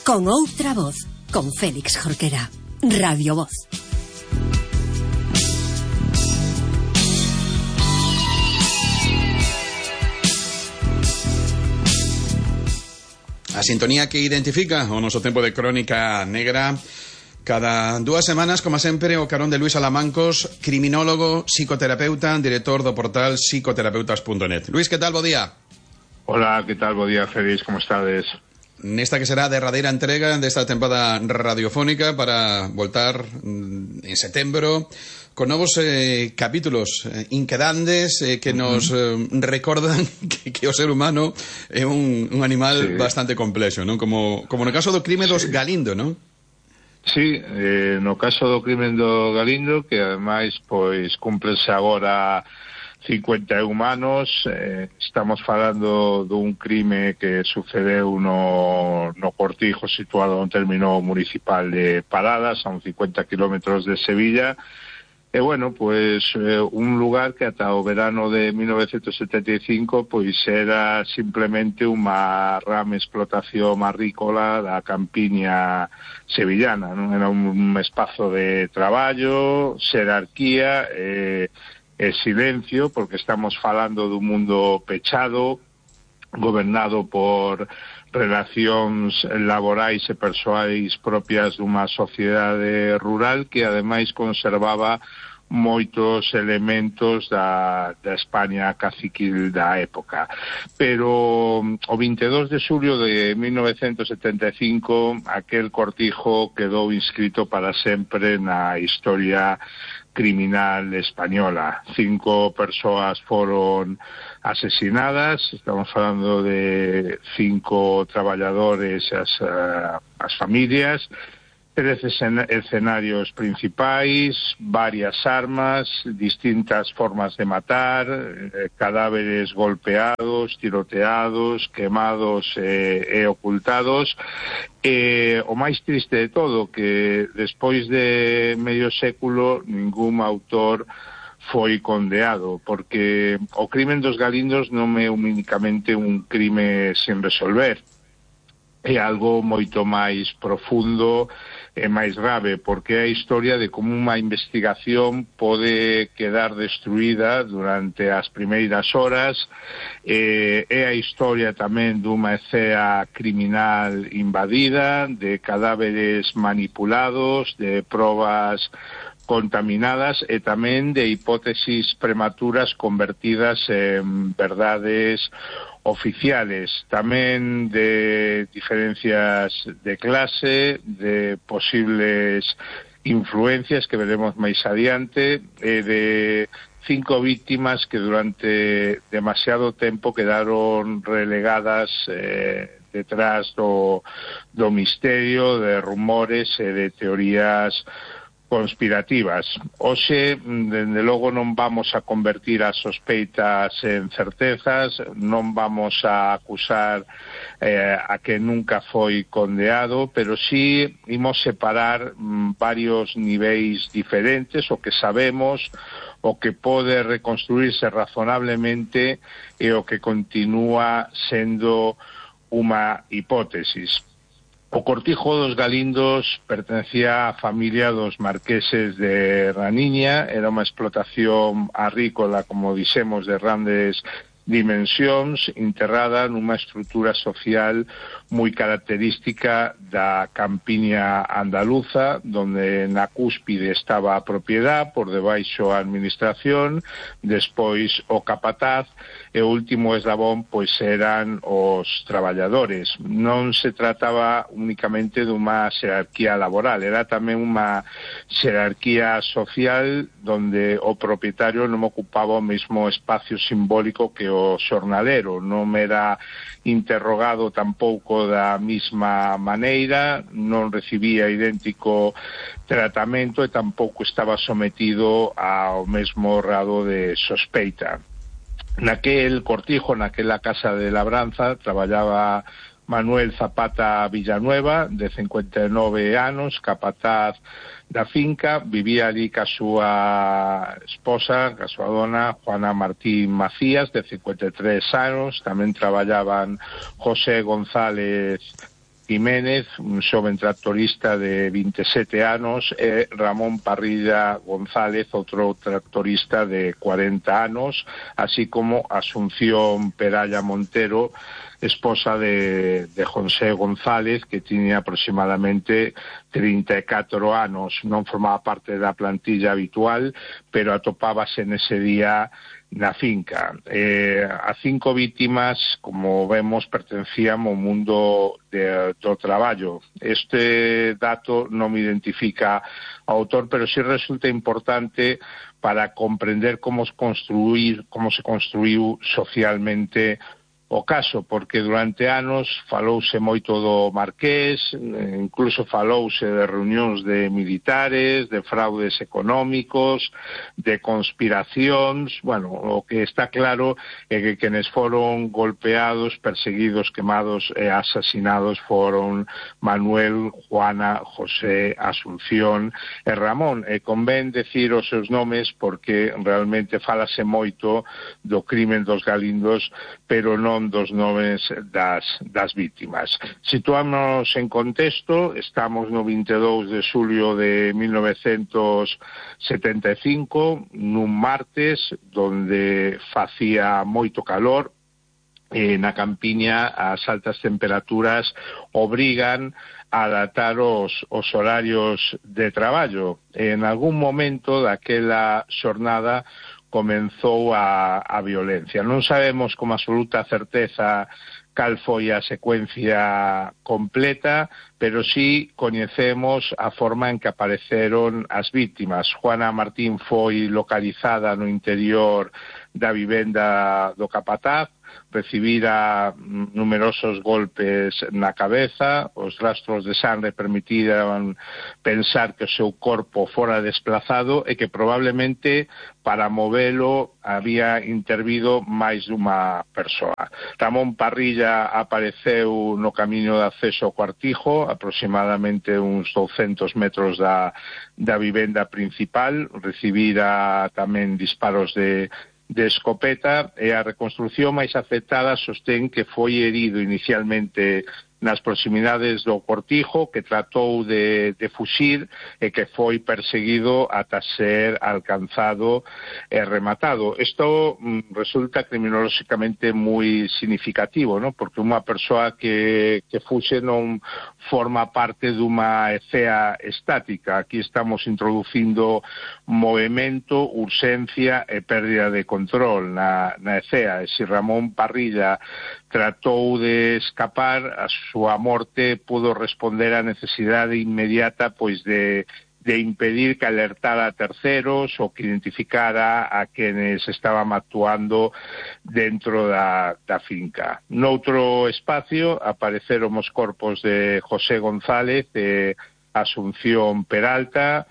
Con outra voz, con Félix Jorquera. Radio Voz. A sintonía que identifica o noso tempo de crónica negra. Cada 2 semanas, como sempre, o carón de Luís Alamancos, criminólogo, psicoterapeuta, director do portal psicoterapeutas.net. Luís, que tal? Bo día. Hola, que tal? Bo día, Félix, como estades? Nesta que será a derradeira entrega desta tempada radiofónica para voltar en setembro con novos capítulos inquedantes que nos recordan que o ser humano é un animal bastante complexo, non? Como no caso do crime dos Galindo, non? Sí, no caso do crime do Galindo, que ademais pois cúmplense agora 51 anos, estamos falando dun crime que sucedeu no Cortijo, situado no término municipal de Paradas, a uns 50 kilómetros de Sevilla. E bueno, pois un lugar que ata o verano de 1975 pois era simplemente unha rama explotación agrícola da campiña sevillana, non? Era un espazo de traballo, xerarquía e silencio, porque estamos falando dun mundo pechado, gobernado por relacións laborais e persoais propias dunha sociedade rural que ademais conservaba moitos elementos da España caciquil da época. Pero o 22 de xulio de 1975 aquel cortijo quedou inscrito para sempre na historia criminal española. 5 persoas foron asesinadas, estamos falando de 5 traballadores e as familias, 13 escenarios principais, varias armas, distintas formas de matar, cadáveres golpeados, tiroteados, quemados e ocultados. O máis triste de todo, que despois de medio século ningún autor foi condeado, porque o crimen dos Galindos non é únicamente un crime sin resolver, é algo moito máis profundo e máis grave, porque é a historia de como unha investigación pode quedar destruída durante as primeiras horas, é a historia tamén dunha escena criminal invadida, de cadáveres manipulados, de probas contaminadas e tamén de hipótesis prematuras convertidas en verdades oficiales, tamén de diferencias de clase, de posibles influencias que veremos máis adiante, e de 5 víctimas que durante demasiado tempo quedaron relegadas detrás do misterio, de rumores e de teorías conspirativas. Hoxe, dende logo, non vamos a convertir as sospeitas en certezas, non vamos a acusar a que nunca foi condeado, pero sí imos separar varios niveis diferentes, o que sabemos, o que pode reconstruirse razonablemente e o que continúa sendo unha hipótesis. O Cortijo dos Galindos pertencía á familia dos marqueses de Raniña, era unha explotación agrícola, como dixemos, de grandes dimensións, enterrada nunha estrutura social moi característica da campiña andaluza, donde na cúspide estaba a propiedade, por debaixo a administración, despois o capataz, e o último eslabón pois eran os traballadores. Non se trataba únicamente dunha xerarquía laboral, era tamén unha xerarquía social donde o propietario non ocupaba o mesmo espacio simbólico que o xornalero, non era interrogado tampouco da mesma maneira, non recibía idéntico tratamento e tampouco estaba sometido ao mesmo grado de sospeita. Naquel cortijo, naquela casa de labranza, traballaba Manuel Zapata Villanueva, de 59 anos, capataz da finca, vivía ali ca súa esposa, ca súa dona, Juana Martín Macías, de 53 anos, tamén traballaban José González Jiménez, un xoven tractorista de 27 anos, e Ramón Parrilla González, outro tractorista de 40 anos, así como Asunción Peralla Montero, esposa de José González, que tiña aproximadamente 34 anos. Non formaba parte da plantilla habitual, pero atopábase nese día na finca. As 5 vítimas, como vemos, pertencían ao mundo do traballo. Este dato non me identifica ao autor, pero sí resulta importante para comprender como se construiu socialmente o caso, porque durante anos falouse moito do Marqués, incluso falouse de reunións de militares, de fraudes económicos, de conspiracións. Bueno, o que está claro é que quenes foron golpeados, perseguidos, quemados e asasinados foron Manuel, Juana, José, Asunción e Ramón. E convén decir os seus nomes porque realmente falase moito do crimen dos Galindos, pero non dos nomes das vítimas. Situámonos en contexto, estamos no 22 de xulio de 1975, nun martes, donde facía moito calor. Na campiña as altas temperaturas obrigan a adaptar os horarios de traballo. En algún momento daquela xornada comenzou a violencia. Non sabemos con absoluta certeza cal foi a secuencia completa, pero sí coñecemos a forma en que apareceron as vítimas. Juana Martín foi localizada no interior da vivenda do capataz, recibira numerosos golpes na cabeza, os rastros de sangre permitiran pensar que o seu corpo fora desplazado e que probablemente para movelo había intervido máis dunha persoa. Ramón Parrilla apareceu no camiño de acceso ao cuartijo, aproximadamente uns 200 metros da vivenda principal, recibira tamén disparos de escopeta, e a reconstrucción máis afectada sostén que foi herido inicialmente nas proximidades do cortijo, que tratou de fuxir e que foi perseguido ata ser alcanzado e rematado. Isto resulta criminolóxicamente moi significativo, ¿no? Porque unha persoa que fuxe non forma parte dunha ecea estática. Aquí estamos introducindo movimento, urxencia e pérdida de control na ecea. E se Ramón Parrilla tratou de escapar, a súa morte pudo responder á necesidade inmediata pois de impedir que alertara a terceros ou que identificara a quenes estaban actuando dentro da finca. Noutro espacio apareceron os corpos de José González e Asunción Peralta.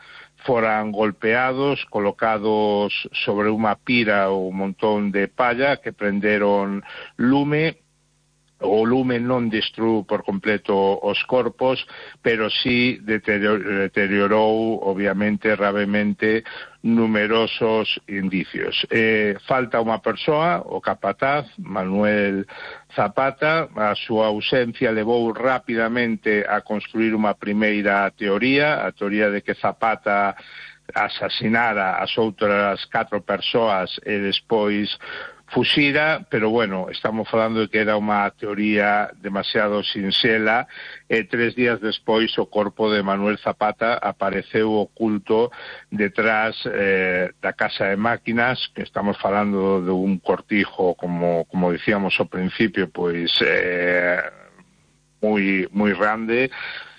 Foran golpeados, colocados sobre unha pira ou un montón de palla que prenderon lume. O lume non destruiu por completo os corpos, pero sí deteriorou, obviamente, gravemente, numerosos indicios. Falta unha persoa, o capataz, Manuel Zapata. A súa ausencia levou rapidamente a construir unha primeira teoría, a teoría de que Zapata asasinara as outras 4 persoas e despois fuxira, pero bueno, estamos falando de que era unha teoría demasiado sinxela, e 3 días despois o corpo de Manuel Zapata apareceu oculto detrás da casa de máquinas, que estamos falando de un cortijo, como dicíamos ao principio, pois moi grande.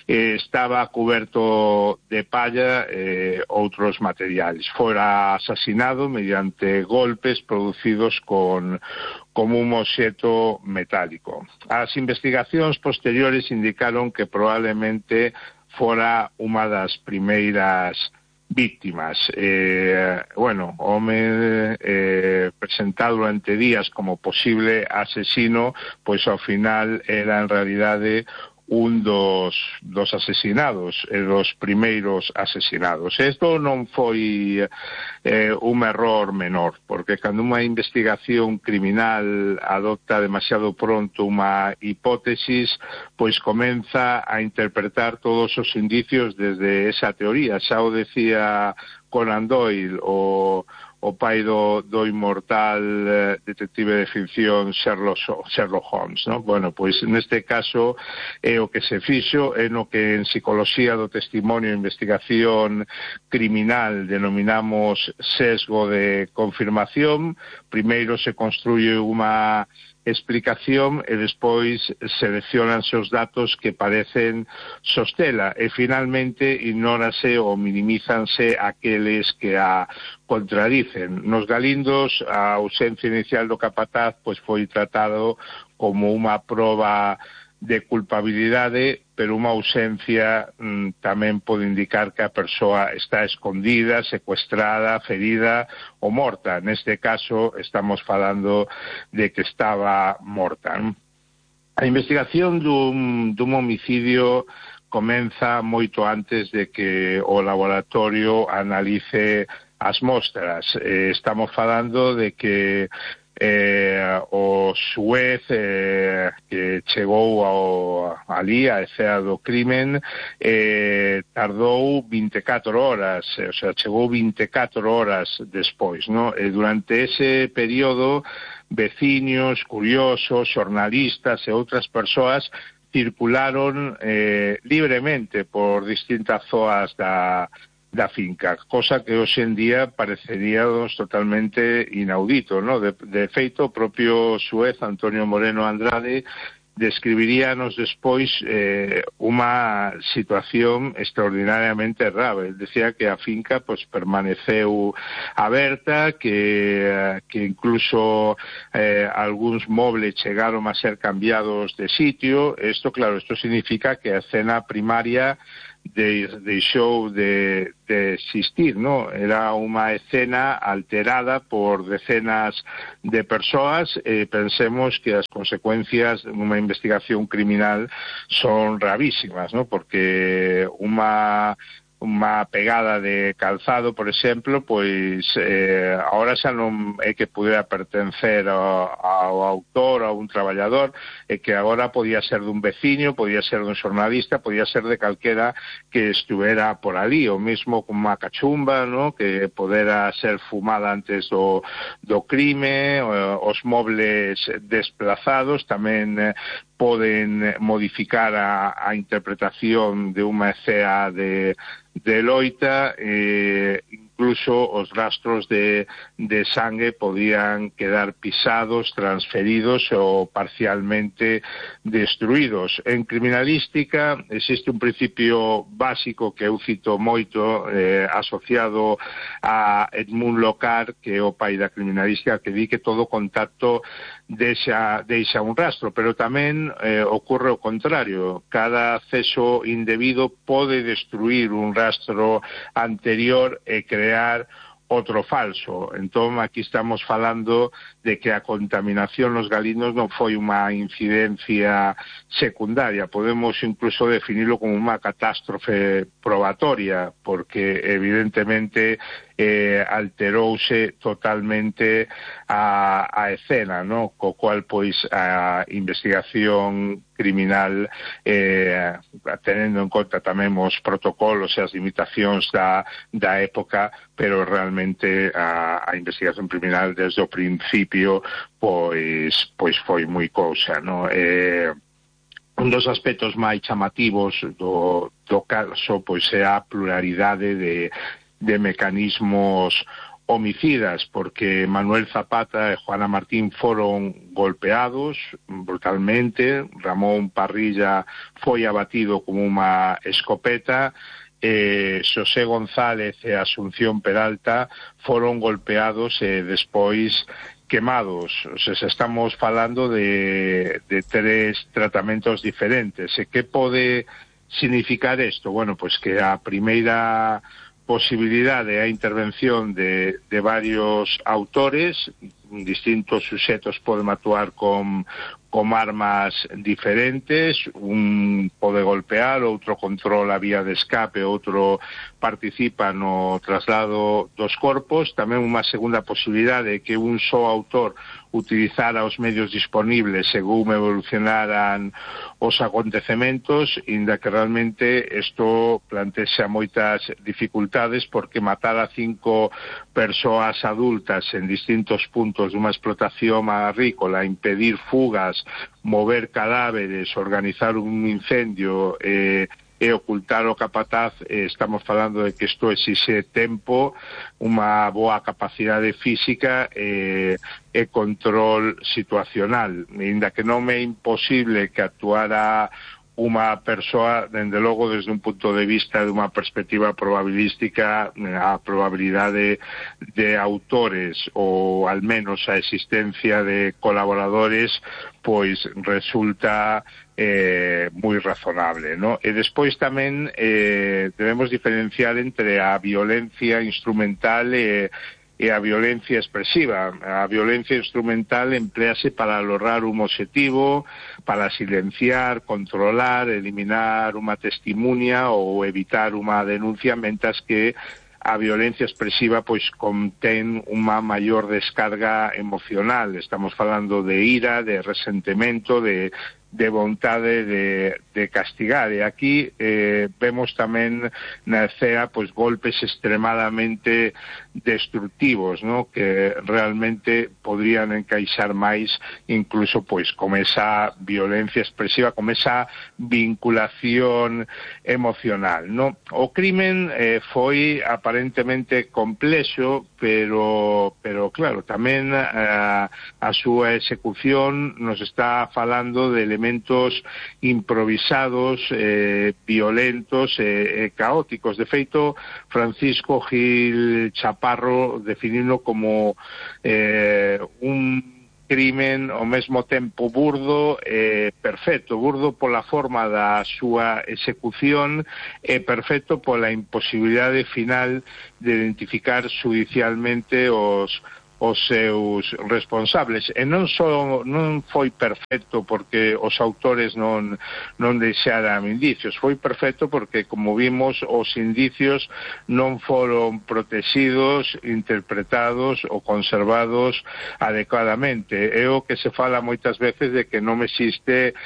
Estaba cuberto de palla e outros materiais. Fora asasinado mediante golpes producidos con un obxeto metálico. As investigacións posteriores indicaron que probablemente fora unha das primeiras víctimas. Bueno, o home presentado durante días como posible asesino, pois ao final era en realidade un dos asesinados, los primeiros asesinados. Isto non foi un error menor, porque cando unha investigación criminal adopta demasiado pronto unha hipótesis, pois comeza a interpretar todos os indicios desde esa teoría. Xa o decía Conan Doyle, o pai do inmortal detective de ficción Sherlock Holmes, ¿no? Bueno, pois neste caso o que se fixo é no que en psicología do testimonio e investigación criminal denominamos sesgo de confirmación. Primeiro se construye unha explicación e despois seleccionanse os datos que parecen sostela e finalmente ignórase ou minimízanse aqueles que a contradicen. Nos Galindos a ausencia inicial do capataz pois foi tratado como unha proba de culpabilidade, pero unha ausencia tamén pode indicar que a persoa está escondida, secuestrada, ferida ou morta. Neste caso estamos falando de que estaba morta. A investigación dun homicidio comeza moito antes de que o laboratorio analice as mostras. Estamos falando de que o xuez que chegou ali a escena do crimen tardou 24 horas, o sea, chegou 24 horas despois, ¿no? E durante ese período veciños, curiosos, xornalistas e outras persoas circularon libremente por distintas zonas da finca, cosa que hoxe en día pareceríamos totalmente inaudito, ¿no? De feito, o propio xuez Antonio Moreno Andrade describiríanos despois unha situación extraordinariamente rara. Él decía que a finca pues permaneceu aberta, que incluso algúns mobles chegaron a ser cambiados de sitio. Esto, claro, esto significa que a escena primaria deixou de existir, ¿no? Era unha escena alterada por decenas de persoas. Pensemos que as consecuencias dunha investigación criminal son gravísimas, ¿no? Porque unha pegada de calzado, por exemplo, pois agora xa non é que pudera pertencer ao autor, a un traballador, é que agora podía ser dun veciño, podía ser dun xornalista, podía ser de calquera que estuvera por ali, o mesmo con unha cachumba, ¿no? Que podera ser fumada antes do crime, os mobles desplazados tamén poden modificar a interpretación de unha escena de loita, incluso os rastros de sangue podían quedar pisados, transferidos ou parcialmente destruídos. En criminalística existe un principio básico que eu cito moito, asociado a Edmund Locard, que é o pai da criminalística, que di que todo contacto deixa un rastro, pero tamén ocurre o contrario. Cada acceso indebido pode destruir un rastro anterior e crear outro falso. Entón, aquí estamos falando de que a contaminación nos Galindos non foi unha incidencia secundaria. Podemos incluso definirlo como unha catástrofe probatoria, porque evidentemente alterouse totalmente a escena, ¿no? Co cual, pois, a investigación criminal, tenendo en conta tamén os protocolos e as limitacións da época, pero realmente a investigación criminal desde o principio pois foi moi cousa, ¿no? Un dos aspectos máis chamativos do caso pois é a pluralidade de mecanismos homicidas, porque Manuel Zapata e Juana Martín foron golpeados brutalmente, Ramón Parrilla foi abatido con unha escopeta, Xosé González e Asunción Peralta foron golpeados e despois quemados. O sea, estamos falando de tres tratamentos diferentes. E que pode significar isto? Bueno, pois que a primeira posibilidade a intervención de varios autores, distintos suxetos poden actuar con armas diferentes, un pode golpear, outro controla a vía de escape, outro participa no traslado dos corpos. Tamén unha segunda posibilidade é que un só autor utilizara os medios disponibles según evolucionaran os acontecementos, inda que realmente isto plantexa moitas dificultades, porque matar a 5 persoas adultas en distintos puntos dunha explotación agrícola, impedir fugas, mover cadáveres, organizar un incendio e ocultar o capataz, estamos falando de que isto exixe tempo, unha boa capacidade física e control situacional. Inda que non é imposible que actuara unha persoa, dende logo, desde un punto de vista de unha perspectiva probabilística, a probabilidade de autores ou al menos a existencia de colaboradores pois resulta moi razonable, ¿no? E despois tamén debemos diferenciar entre a violencia instrumental e a violencia expresiva. A violencia instrumental emplease para lograr un obxectivo, para silenciar, controlar, eliminar unha testimonio ou evitar unha denuncia, mentras que a violencia expresiva pois contén unha maior descarga emocional. Estamos falando de ira, de resentimento, de vontade de castigar. E aquí vemos tamén na escena pois golpes extremadamente destructivos, ¿no?, que realmente podrían encaixar máis incluso pois con esa violencia expresiva, con esa vinculación emocional, ¿no? O crimen foi aparentemente complexo, pero claro, tamén a súa execución nos está falando de elementos improvisados, violentos e caóticos. De feito, Francisco Gil Chaparro definiuno como un crimen ao mesmo tempo burdo e perfecto. Burdo pola forma da súa execución e perfecto pola imposibilidade final de identificar judicialmente os seus responsables. E non foi perfecto porque os autores non deixaran indicios, foi perfecto porque, como vimos, os indicios non foron protegidos, interpretados ou conservados adecuadamente. É o que se fala moitas veces de que non existe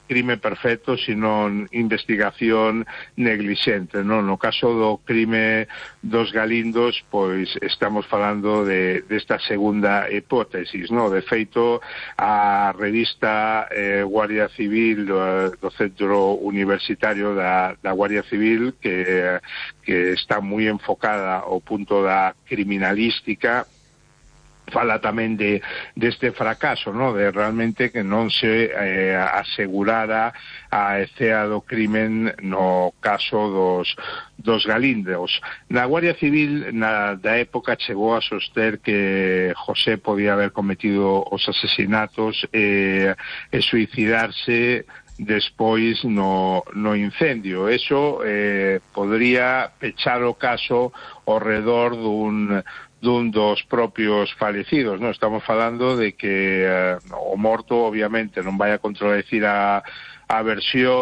crime perfecto, sino investigación neglixente, non? No caso do crime dos Galindos, pois estamos falando desta segunda hipótesis, non? De feito, a revista Guardia Civil do Centro Universitario da Guardia Civil, que está moi enfocada ao punto da criminalística, fala tamén deste fracaso, ¿no?, de realmente que non se asegurara a escena do crimen no caso dos Galindos. Na Guardia Civil da época chegou a soster que José podía haber cometido os asesinatos e suicidarse despois no incendio. Eso podría pechar o caso ao redor dun dos propios falecidos, ¿no? Estamos falando de que o morto obviamente non vai a contradecir a versión